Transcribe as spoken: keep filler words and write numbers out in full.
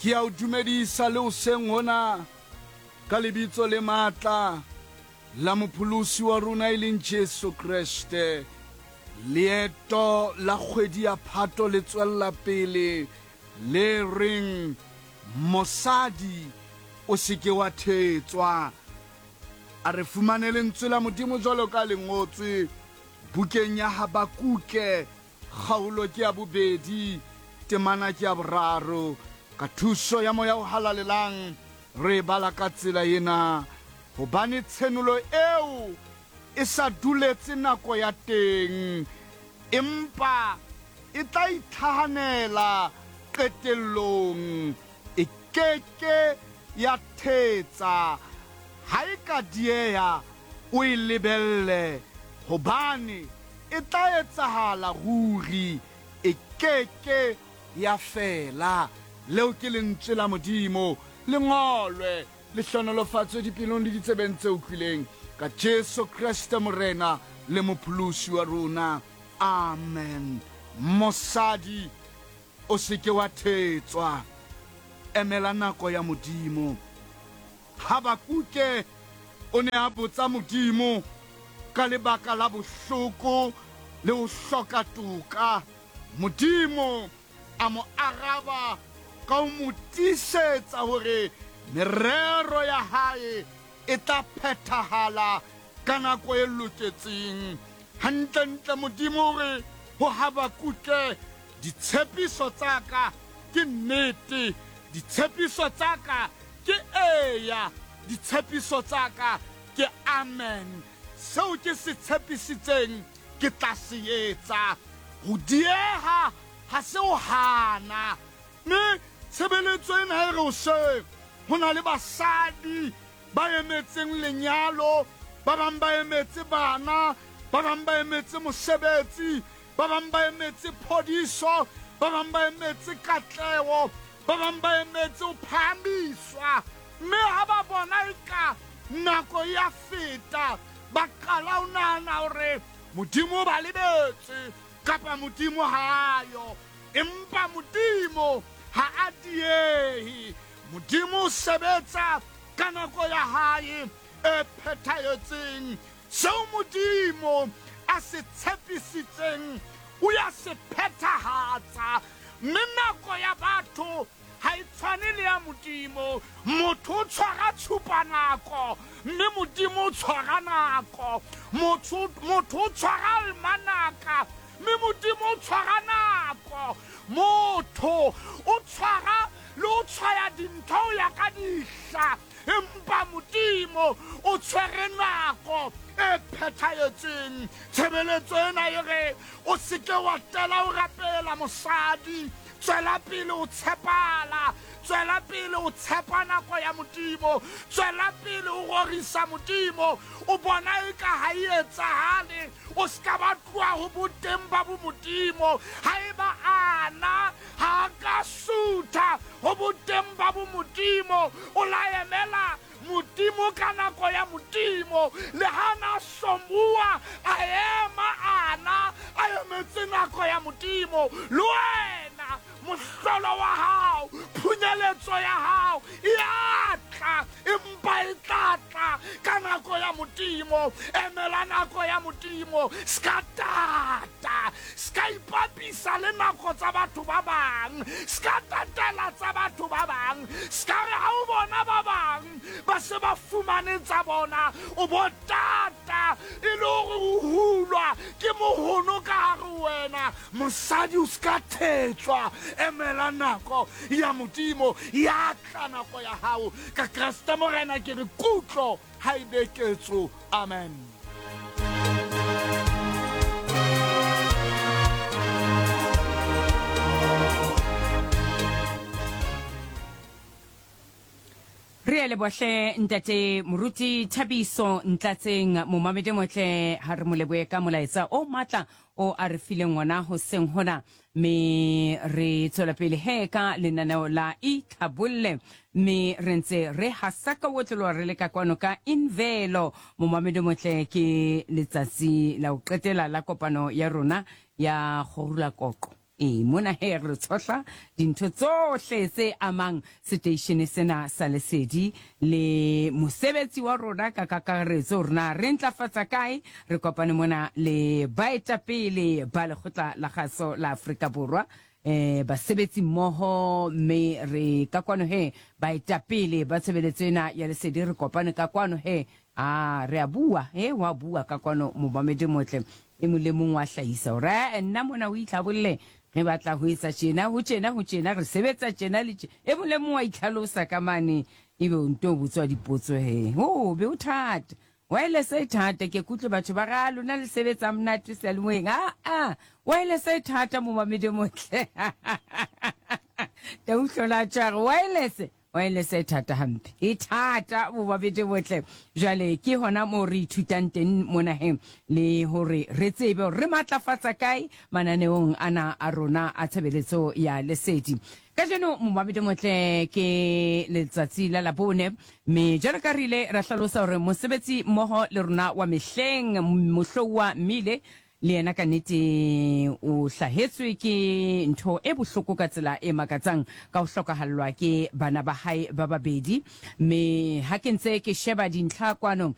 Ke a o dumedisa le hoseng hona ka lebitso le matla la mopholosi wa rona e leng Jesu Kreste. Leeto la kgwedi ya Phato le tswella pele le reng mosadi o se ke wa thetswa. A re fumane lentswe la Modimo jwalo ka le ngotswe bukeng ya Habakuke, kgaolo ke ya bobedi, temana ke ya boraro. Ka thuso ya Moya o Halalelang re e bala ka tsela ena: hobane tshenolo eo e sa duletse nako ya teng, empa e tla itlhahanela qetellong, e ke ke ya thetsa. Ha e ka dieha, o e lebelle, hobane e tla etsahala ruri, e ke ke ya fela. Leo ke lentswe la Modimo, le ngolwe, le hlohonolofatswe dipelong le ditsebeng tse utlwileng, ka Jesu Kreste Morena le Mopholosi wa rona. Amen. Mosadi, o se ke wa thetswa, emela nako ya Modimo. Habakuke o ne a botsa Modimo ka lebaka la bohloko le ho hloka toka. Modimo a mo araba ka ho mo tiisetsa hore merero ya hae e tla phethahala ka nako e loketseng. Hantlentle Modimo o re ho Habakuke, ditshepiso tsa ka ke nnete, ditshepiso tsa ka ke eya, ditshepiso tsa ka ke amen. Seo ke se tshepisitseng ke tla se etsa. Ho dieha ha se ho hana. Mme tshebeletso ena e re hoseng, ho na le basadi ba emetseng lenyalo, ba bang ba emetse bana, ba bang ba emetse mosebetsi, ba bang ba emetse phodiso, ba bang ba emetse katleho, ba bang ba emetse ho phahamiswa. Mme ha ba bona eka nako ya feta, ba qala ho nahana hore Modimo o ba lebetse kapa Modimo ha a yo. Empa Modimo ha a diehe. Modimo o sebetsa ka nako ya hae e phethahetseng. Seo Modimo a se tshepisitseng o ya se phethahatsa. Mme nako ya batho ha e tshwane le ya Modimo. Motho o tshwara tshupanako, mme Modimo o tshwara nako. Motho motho o tshwara almanaka, mme Modimo o tshwara nako. Motho o tshwara le ho tshwaya dintho ho ya ka dihla, empa Modimo o tshwere nako e phethahetseng. Tshebeletso ena e re o se ke wa tela ho rapela mosadi, tswela pele ho tshepala, tswela pele ho tshepa nako ya Modimo, tswela pele ho rorisa Modimo. O bona eka ha e etsahale, o se ka ba tloha ho boteng ba bomodimo. Haeba ana ha a ka sutha ho boteng ba bomodimo, o la emela Modimo ka nako ya Modimo. Le ha na hlomuwa, a ema ana a emetse nako ya Modimo. Le wena mohlolo wa hao, phunyeletso ya hao e a tla, empa e tla tla ka nako ya Modimo. Emela nako ya Modimo, ska tata, ska ipapisa le nako tsa batho ba bang, ska tatela tsa batho ba bang, ska re ha o bona ba bang ba se ba fumane tsa bona, o bo tata e le hore o hulwa ke mohono ka hare ho wena. Mosadi, o ska thetswa, emela nako ya Modimo. Ya tla nako ya hao ka Kreste Morena. Ke re kutlo ha e be ketso. Amen. Re a lebohle ntate Moruti Thabiso Ntlatseng, momamedi motle, ha re mo lebohe ka molaetsa o matla o a re fileng ona hoseng hona. Me re tswela pele he ka lenaneo la Itlhabolle, mme re ntse re hasa ka otloloha re le ka kwano ka Invelo. Momamedi motle, ke letsatsi la ho qetela la kopano ya rona ya Kgorula Koqo. E mona he re tshohla dintho tsohle tse amang seteishene sena sa Lesedi le mosebetsi wa rona ka kakaretso, hore na re ntlafatsa kae. Re kopane mona le baetapele ba Lekgotla la Kgaso la Afrika Borwa, eh basebetsi mmoho, mme re ka kwano he baetapele ba tshebeletso ena ya Lesedi. Re kopane ka kwano he, a re a bua he, wa bua ka kwano momamedi motle, e mong le mong wa hlahisa hore eh, nna mona o itlhabolle, re batla ho etsa tjena, ho tjena, ho tjena, re sebetsa tjena le tje. E mong le mong wa itlhalosa ka mane, ebe o nto botswa dipotso he, o be o thata. Wireless e thata, ke kutlwe batho ba ra lona le sebetsa monate seyalemoyeng. A a wireless e thata, momamedi motle, tauhlola tshware wireless. Wireless e thata hampe, e thata, momamedi motle. Jwale ke hona moo re ithutang teng mona he, le hore re tsebe hore re matlafatsa kae mananeong ana a rona a tshebeletso ya Lesedi. Kajeno, momamedi motle, ke letsatsi la Labone, mme jwalo ka re ile ra hlalosa hore mosebetsi mmoho le rona wa mehleng, Mohlouwa Mmile, le yena ka nnete o hlahetswe ke ntho e bohloko ka tsela e makatsang ka ho hlokahallwa ke bana ba hae ba babedi. Mme ha ke ntse ke sheba dintlha kwano ka